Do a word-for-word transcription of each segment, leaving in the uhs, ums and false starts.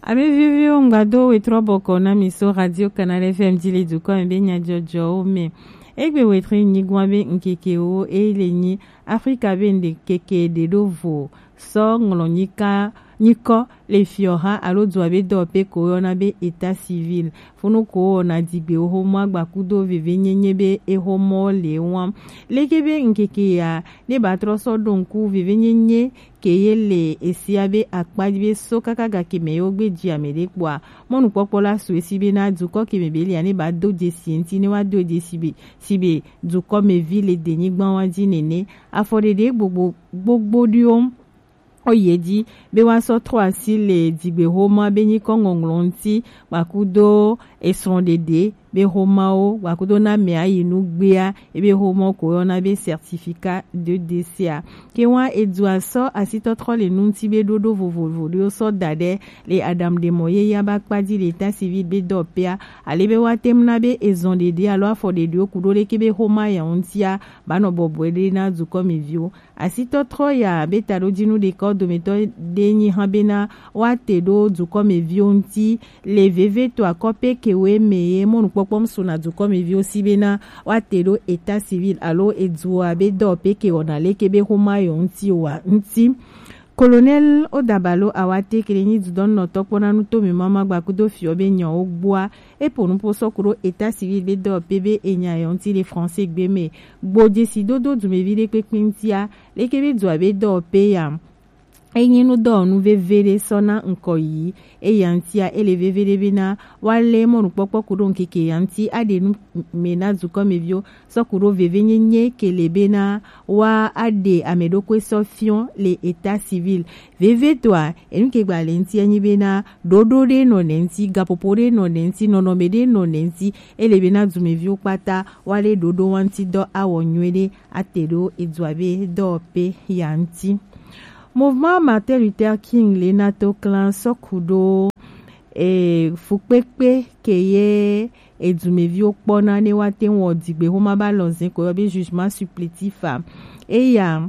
Ame viviwo, ŋgbado wetrɔ bɔkɔ na mi so Radio Canal F M ji le dukɔ me be nyajɔjɔwo me. Egbe wetre nyigba be ŋkekewo e le nyi Afrika be ŋde keke ɖe ɖo vo sɔ ŋlɔ nyika nyikɔ le fiɔha alo dua be dɔwɔpe ko yɔna be état civil. Funu ko wɔna digbewo homɔ agbakudo vevenyenye be ehomɔ le wam. Leke be ŋkeke ya ne ba trɔ sɔ ɖo ŋku vevenyenye ke ye le esia be akpa be so kaka gake me yewo gbe ji ame ɖe kpɔa, mɔnukpɔkpɔ la su esi be na dukɔ ke me be lia ne ba do jesi ŋti ne wa do jesi be si be dukɔ me vi le denyigba wa ji nene. Afɔɖeɖe gbogbo gbogbo ɖiwo o ye ji be wa sɔ trɔ asi le digbe homa be nyikɔ ŋɔŋlɔ ŋti gbakudo esrɔ̃ɖeɖe be homawo gbakudo na mɛ ayi nugbea ebe homawo ko yɔna be certificat de décès a. Ke wa edua sɔ asitɔtrɔ le nu ŋti be ɖoɖo vovovo ɖewo sɔ da ɖe le Adam ɖe mɔ ye ya ba kpa ji le état civil be dɔwɔpea ale be wa tem na be ezɔ̃ ɖeɖe alo afɔ ɖeɖewo kuɖo leke be homa ya ŋtia ba nɔ bɔbɔe ɖe na dukɔ me viwo. Asitɔtrɔ ya be taɖojinu ɖeka wo dometɔ ɖe nyi hã bena woate ɖo dukɔmeviwo ŋuti le vevetɔ akɔpe kewoe me ye mɔnukpɔkpɔ mu suna dukɔmeviwo si bena woate ɖo état civil alo edua be dɔwɔpe ke wɔna leke be xoma yewo ŋuti oa ŋuti. Colonel Odabalo Awate ke le nyi dudɔnunɔtɔ kpɔna nu to mi mama gbakudo fiɔ be nyawo gbɔa. Eƒo nuƒo sɔ ku ɖo état civil be dɔwɔpe be enya yewo ŋuti le français gbe me. Gbo dzesi dodo dumevi ɖe kpekpe ŋutia, leke be dua be dɔwɔpe ya enyi nudɔwɔnu veve ɖe sɔ na ŋkɔ yi eya ŋutia ele veve ɖe bena woalé mɔnukpɔkpɔ ku ɖo ŋkeke ya ŋuti aɖe nu me na dukɔmeviwo sɔ ku ɖo vevenyenye ke le bena woaɖe ame ɖokui sɔ fiɔ le état civil. Vevietɔa, enu ke gba le ŋuti enyi bena ɖoɖo ɖe nɔ nɛ ŋuti, gaƒoƒo ɖe nɔ nɛ ŋuti, nɔnɔme ɖe nɔ nɛ ŋuti, ele bena dumeviwo kpata woalé ɖoɖo wa ŋuti dɔ awɔ nyuie ɖe ate ɖo edua be dɔwɔpe ya ŋuti. Mouvement Martin Luther King le na to clan sɔ ku ɖo e, fukpekpe ke ye edumeviwo kpɔna ne woate ŋu wɔ digbe xoma ba lɔzẽ ko yɔ be jugement supplétif a. Eya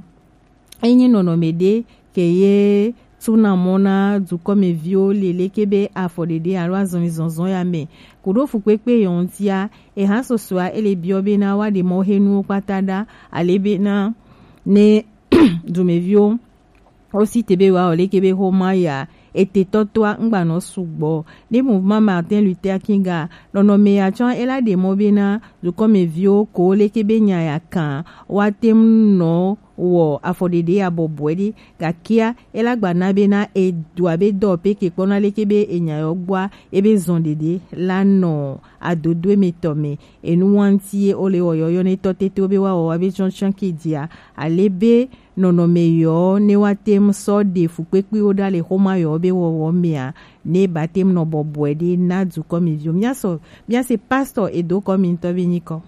enyi nɔnɔme ɖe ke ye tuna mɔ na dukɔmeviwo le leke be afɔɖeɖe alo azɔlizɔzɔ ya me. Ku ɖo fukpekpe yɔ ŋutia, eha susua ele biɔ bena woaɖe mɔ he nuwo kpata ɖa ale bena ne dumeviwo wo si te be wa o leke be xoma ya ete tɔtɔa ŋgba nɔ sugbɔ. Ne mouvement Martin Luther King a nɔnɔme ya tsɔ ela ɖe mɔ bena dukɔmeviwo ko leke be nya ya kan woate ŋu nɔ wɔ afɔɖeɖe ya bɔbɔe ɖe gakea ela gba na bena edua be dɔwɔpe ke kpɔna leke be enya yɔ gbɔa ebe zɔn ɖeɖe la nɔ adodoe me tɔ me enu wa ŋuti ye wo le wɔ yɔyɔ ne tɔ tete wo be wa wɔ wa be tsɔtsɔ ke dia ale be nɔnɔme yɔ ne woate ŋu sɔ ɖe fukpekpewo ɖa le xoma yɔ be wɔwɔ mea ne bate ŋu nɔ bɔbɔe ɖe na dukɔmeviwo. Míasɔ míase pastor edo kɔ mi ŋutɔ be nyikɔ.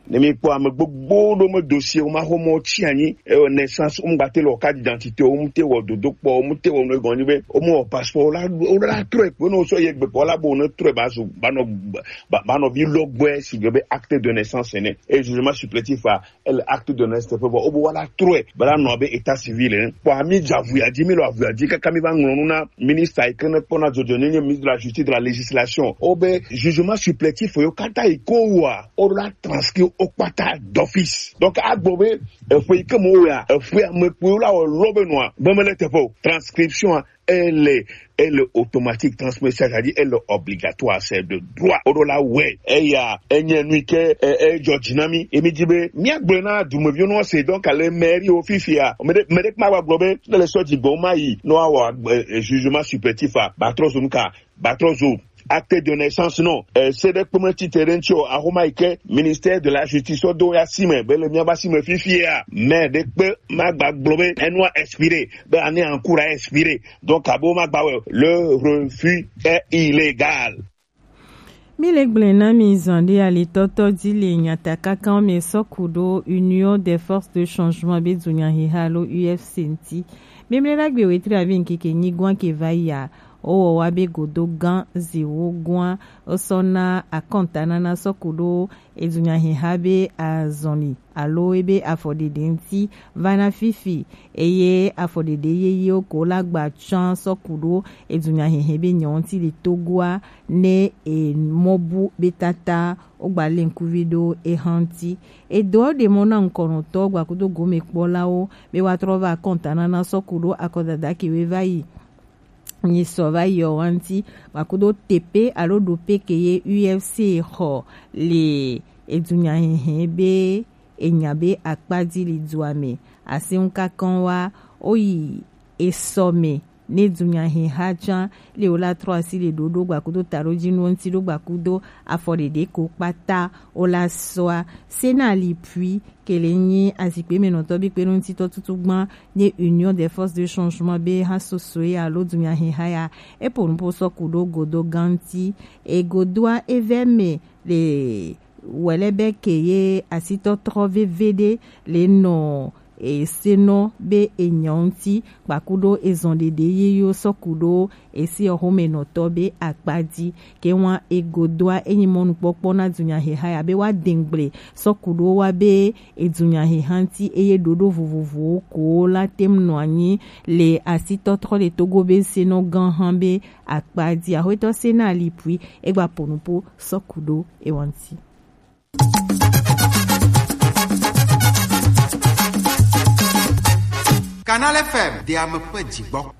Ne mi kpɔ ame gbogbo ɖo me dossier wo ma xɔ mɔ tsi anyi e naissance wo mu gba te le wɔ carte d'identité wo mu te wɔ dodo kpɔ wo mu te wɔ nu egɔn nyi be wo mu wɔ passeport wo la wo la trɔe kpe ne wo sɔ ye gbe kpɔ la bo ne trɔe ba zu ba nɔ ba nɔ vi lɔgbɔe si gbe be acte de naissance ene e jugement supplétif a ele acte de naissance teƒe vɔ wobe woala trɔe bena nɔ abe état civil ene kpɔ ami dze avuya dzi mi le avuya dzi kaka mi va ŋlɔ nu na ministre yi ke ne kpɔna dzɔdzɔenyenye, ministre de la justice de la législation wobe jugement supplétif yo kata yi ko wa wola transcrit wo kpata d'office. Donc agbo be eƒe yi ke mo ya eƒe ame kpuiwo la wɔ lɔ be nɔa be mele teƒe o. Transcription a ele ele automatique, transmission, c'est-à-dire ele obligatoire, c'est de droit. Oɖo la wɛ eya enye nu ke e- edzɔ dzi na mi emi dzi be míagblɔe na dumeviwo nɔ se donc le mairie wo fifia me ɖe me ɖe kuma gba gblɔ be ne le sɔ dzi gbɔ ma yi nɔ awɔ agbe- e- jugement supplétif a ba trɔ zo nu ka ba trɔ zo acte de naissance nɔ e se ɖe kpeme tite ɖe ŋuti o ahoma yi ke ministère de la justice sɔ do ya si me be le míaba si me fifia maire ɖe kpe ma gba gblɔ be enua expire be année en cours a expire. Donc abo ma gba wɛ le refus est illégal. Mi le gblẽ na mi zan ɖe alitɔtɔ dzi le nyatakakawo me sɔ ku ɖo Union des Forces de Changement be dunyaheha alo U F C ŋti. Memle la gbe wetri avi ŋkeke nyigɔa ke va yia. Wowɔ wa be godo gan ziwo gɔn a, wosɔ na akɔntanana sɔku ɖo edunyaheha be azɔli alo ebe afɔɖeɖe ŋuti va na fifi, eye afɔɖeɖe yeyewo ko la gba can sɔku ɖo edunyahehe be nyɔ ŋuti le Togoa ne emɔbu be tata wogba le ŋkuvi ɖo eha ŋuti. Edo ɖe mɔ na ŋkɔnɔtɔ gbakudo gomekpɔlawo be woatrɔ va akɔntanana sɔku ɖo akɔdada ke we va yi nyi sɔ va yi ɔ wa ŋuti, gbakudo tepe alo ɖope ke ye U F C xɔ le edunyahehe be enya be akpaji li dua me. Asi ŋu kakɔn wa, wo yi esɔ me ne dunyaheha can le wo la trɔ asi le ɖoɖo gbakudo taɖojinuwo ŋuti ɖo gbakudo afɔ ɖeɖe ko kpata wo la sɔa. Sena li pui kele nyi azikpe me nɔtɔ bi kpe nɔ ŋutitɔ tutu gban nye Union des Forces de Changement be ha soso ya alo dunyaheha ya. Epo nupo sɔ ku ɖo godo ganti. Egodoa evɛ me le wɛlɛbɛ ke ye asitɔtrɔ veveɖe le nɔ esenɔ be enyɔ ŋuti kpakuɖo ezɔn ɖeɖe ye yo sɔ ku ɖo esi ɔxomenɔtɔ be akpa ji. Ke wan egodoa enyi mɔnukpɔkpɔ na dunyaheha ya be wa dengble sɔ ku ɖo wa be edunyaheha ŋuti eye ɖoɖo vovovowo ko la tem nɔ anyi le asitɔtrɔ le Togo be senɔ gã hã be akpa ji. Axwetɔ Sena Lipui egba po nupo sɔ ku ɖo ewa ŋuti. Canal F M de ame ƒe dzigbɔ.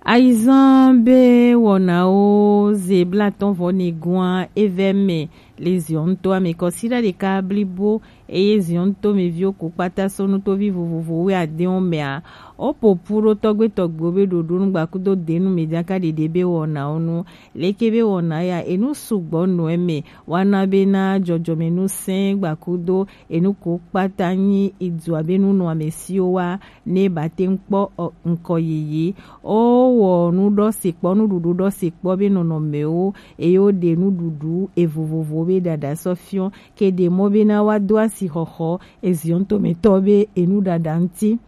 Ayizan be wɔnawo ze blatɔ̃ vɔ negoa evɛ me le Zion toa me kɔsiɖa ɖeka blibo eye Zion to me viwo ko kpata so nutovi vovovo wuiadewo mea, woƒo ƒu ɖo tɔgbe tɔgbewo be ɖoɖo nu gbakudo denu me jaka ɖeɖe be wɔnawo nu. Leke be wɔna ya enu sugbɔ nɔ eme wana be na jɔjɔme nu sɛ̃ gbakudo enu ko kpata nyi idua be nu nɔ ame siwo wa ne ba te ŋkpɔ ŋkɔ yeye. Wowɔ nu ɖɔ se kpɔ, nuɖuɖu ɖɔ se kpɔ be nɔnɔmewo eye woɖe nuɖuɖu evovovo be ɖaɖa sɔ fiɔ ke ɖe mɔ be na wa do asi xɔxɔ eziɔn tometɔ be enu ɖaɖa ŋuti.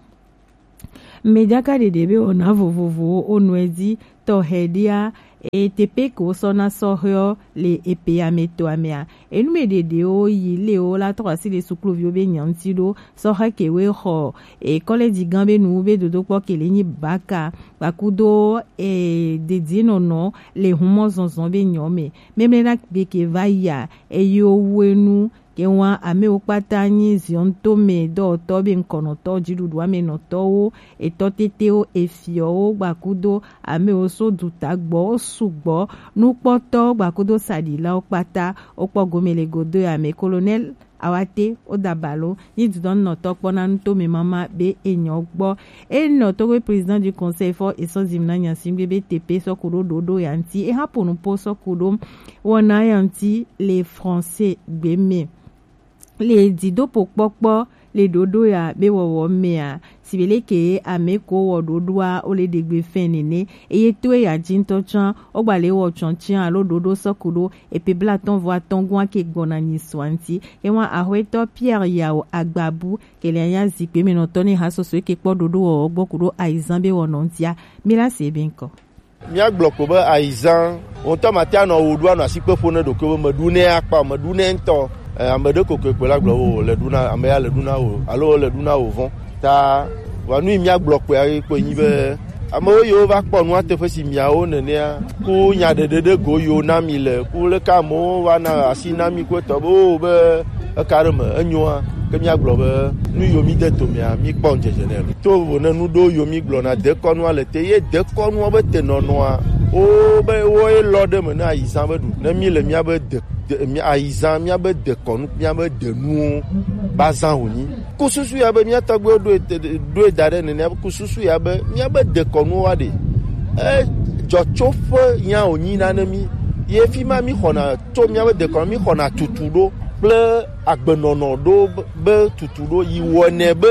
Mejaka ɖeɖe be wɔna vovovowo wonɔe dzi tɔxɛ ɖia, eye teƒe ke wosɔna sɔhɛwo le epe ame tɔa mea, enu me ɖeɖewo yi le wo la trɔ asi le sukluviwo be nya ŋuti ɖo. Sɔhɛ ke we xɔ e kɔlɛji gã be nu be dodokpɔ ke le nyi baka kpakudo e dedienɔnɔ le humɔ zɔzɔ be nyɔ me. Memle na gbe ke va yia eye wo enu ke wan amewo kpata nyi ziɔn to me dɔwɔtɔ be ŋkɔnɔtɔ, dziɖuɖu ame nɔtɔwo, etɔ tetewo, efiɔwo gbakudo amewo so duta gbɔ wo sugbɔ, nukpɔtɔ gbakudo saɖilawo kpata wokpɔ gome le godo ya me. Colonel Awate Odabalo nyi dudɔnunɔtɔ kpɔna nuto me mama be enyɔ gbɔ. Enɔ Togo président du conseil fɔ esɔ zim na nyasingbe be tepe sɔ ku ɖo ɖoɖo ya ŋuti. Eha po nupo sɔ ku ɖo wɔna ya ŋuti le français gbe me. Le didopo kpɔkpɔ le ɖoɖo ya be wɔwɔ mea, sibe leke ame ko wɔ ɖoɖoa wo le ɖegbe fɛn nene. Eye to eya ji ŋutɔ tsã, wogba le wɔ tsɔtsiã alo ɖoɖo sɔ ku ɖo epe blatɔ̃ vɔ atɔ̃ gɔ̃a ke gbɔna nyi sɔa ŋuti. Ewa axwetɔ Pierre Yao Agbabu ke le anya zikpui me nɔtɔ ne ha soso ke kpɔ ɖoɖo wɔwɔ gbɔ ku ɖo ayizan be wɔnɔ ŋutia. Mi la se be ŋkɔ. Míagblɔ ko be ayizan, wò ŋutɔ mate anɔ wò ɖu anɔ asikpe ƒo ne ɖokuiwò be meɖu nɛ akpa o, meɖu nɛ ŋutɔ. Eh, ame ɖe kokoe kpɔe la gblɔ be wò le ɖu na, ame ya le ɖu na wò, alo wò le ɖu na wò vɔ̃. Ta vɔa nu yi míagblɔ kpɔe kpɔe nyi be amewo yiwo va kpɔ nua teƒe si miawo nenea, ku nyaɖeɖe ɖe go yiwo na mi le, ku leke amewo va na asi na mi ku etɔ be, o, be eka ɖe me enyoa, ke míagblɔ be nu yiwo mi de tomea, mi kpɔ ŋdzedze nɛ lo. To vo ne nu ɖewo yiwo mi gblɔna dekɔnua le te, ye dekɔnua be tenɔnɔa, wo be wo ye lɔ ɖe me ne ayizan be ɖu. Ne mi le mía be de, de, mía, ayizan, mía be dekɔnu, mía be denuwo ba zan wònyi. Ku susu ya be mía tɔgbuiwo ɖoe te, ɖoe da ɖe nenea, ku susu ya be mía be dekɔnuwo wa ɖe. E, dzɔtsoƒe ya wònyi na ne mí. Ye fi ma mí xɔna tso míaƒe dekɔnu, mí xɔna tutu ɖo kple agbenɔnɔ ɖo be, be tutu ɖo yi wɔnɛ be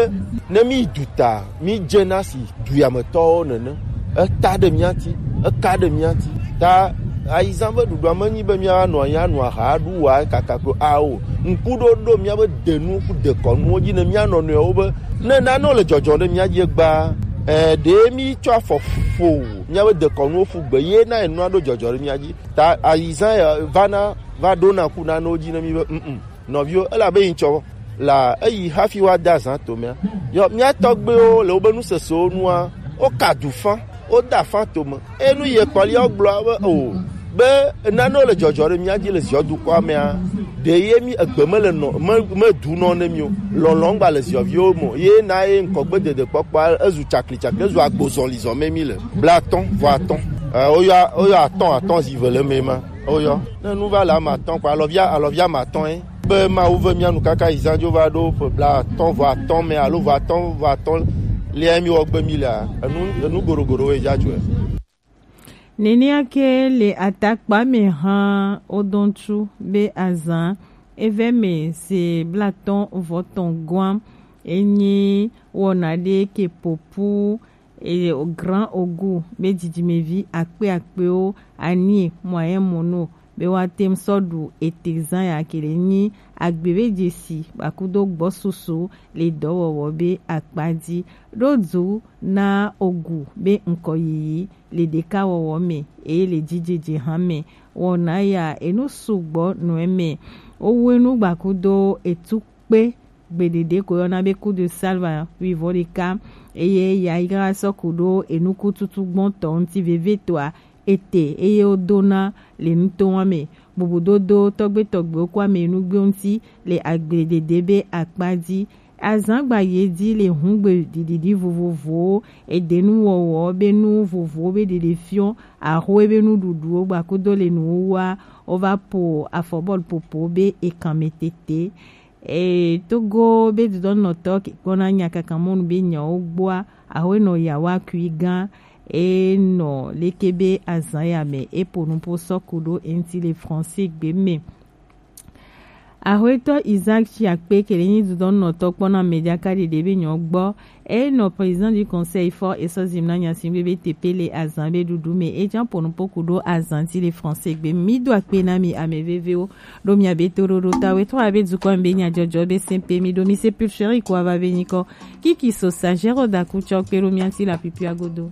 ne mí yi duta, mí dzena si duyametɔwo nene. Eta ɖe mía ŋuti, eka ɖe mía ŋuti. Ta ayizan be ɖuɖua menyi be míanɔ anyi anu aha aɖu wa kaka ko ao. Ŋkuɖoɖo míaƒe denu ku dekɔnuwo dzi ne mía nɔnɔewo be ne nanewo le dzɔdzɔ ɖe mía dzi egbea, Eh, ɖe mi tsɔ afɔ fo miabe dekɔnuwo ƒu gbe ye na enua ɖo dzɔdzɔ ɖe mia dzi. Ta ayizan ya va na va ɖo na ku na no dzi ne mi be mm nɔviwo elabe yi tsɔ la eyi hafi wa da zan to mea. Yɔ mia tɔgbewo le wobe nusesewo nua wo ka du fa wo da fa to me. Enu ye kpɔlia wo gblɔ be o be nanewo le dzɔdzɔ ɖe mía dzi le ziɔ dukɔa mea, ɖe ye mi egbe mele nɔ me me du nɔ ne mi o. Lɔlɔ̃ gba le ziɔviwo me o. Ye na ye ŋkɔgbe dede kpɔkpɔ ezu tsakli tsakli ezu agbo zɔli zɔ me mi le bla atɔ̃ vɔ atɔ̃. Eh, woyɔ woyɔ atɔ̃ atɔ̃ zi ve le me ma woyɔ ne nu va le ame atɔ̃ kɔ alɔvia alɔvia ame atɔ̃ ye be Mawu ve mía nu kaka yi zã dzo va ɖo ƒe bla atɔ̃ vɔ atɔ̃ me alo vɔ atɔ̃ vɔ atɔ̃ lea mi wɔ gbe mi lea enu enu goɖogoɖo wo ye dza dzɔe. Nenea ke le atakpa me hã wodɔ ŋutsu be azã eve me se blatɔ̃ vɔ tɔ̃ gɔa enyi wɔna ɖe ke popu eye grand ogu be dzidzimevi akpe akpewo anie moyen mono be woate ŋu sɔ ɖu ete zã ya ke le nyi agbe be dzesi bakudo gbɔsusu le dɔwɔwɔ be akpa dzi ɖo du na ogu be ŋkɔyiyi le ɖekawɔwɔ me eye le dzidzedze hã me. Wɔna ya enu sugbɔ nɔ eme. Wowu enu gbakudo etu kpe gbeɖeɖe ko yɔna be coup de salva wivɔ ɖeka eye ya yi gara sɔ ku ɖo enukututu gbɔntɔ ŋuti vevitɔa ete eye wodona le nutowa me. Bubudodo tɔgbe tɔgbewo kɔ ame nugbe ŋuti le agbledede be akpa dzi. Azã gba ye dzi le hungbe ɖiɖiɖi vovovowo, edenuwɔwɔ be nu vovowo be ɖeɖefiɔ, ahoe be nuɖuɖuwo gbakudo le nuwuwua wova po afɔbɔlu popo be ekanme tete. E, Togo be dudɔnɔtɔ ke kpɔna nya kaka mɔnu be nyawo gbɔa, ahoe nɔ yawa kui gã e nɔ leke be azã ya me e po nupo sɔ ku ɖo eŋti le français gbe me. Ahoetɔ Isaac Chiakpe ke le nyi dudɔnɔtɔ kpɔna media ka ɖeɖe be nyɔ gbɔ e nɔ président du conseil fɔ e sɔ zim na nya si be be tepe le azã be ɖuɖu me e jan po nupo ku ɖo azã ti le français gbe. Mi do akpe na mi ame vevewo ɖo mia be to ɖo ɖo ta we to abe dukɔ be nya jɔjɔ be se pe mi ɖo mi se pulchérie ko ava be nyikɔ kiki so sagero da ku tsɔ kpe ɖo mia ti la pipia godo.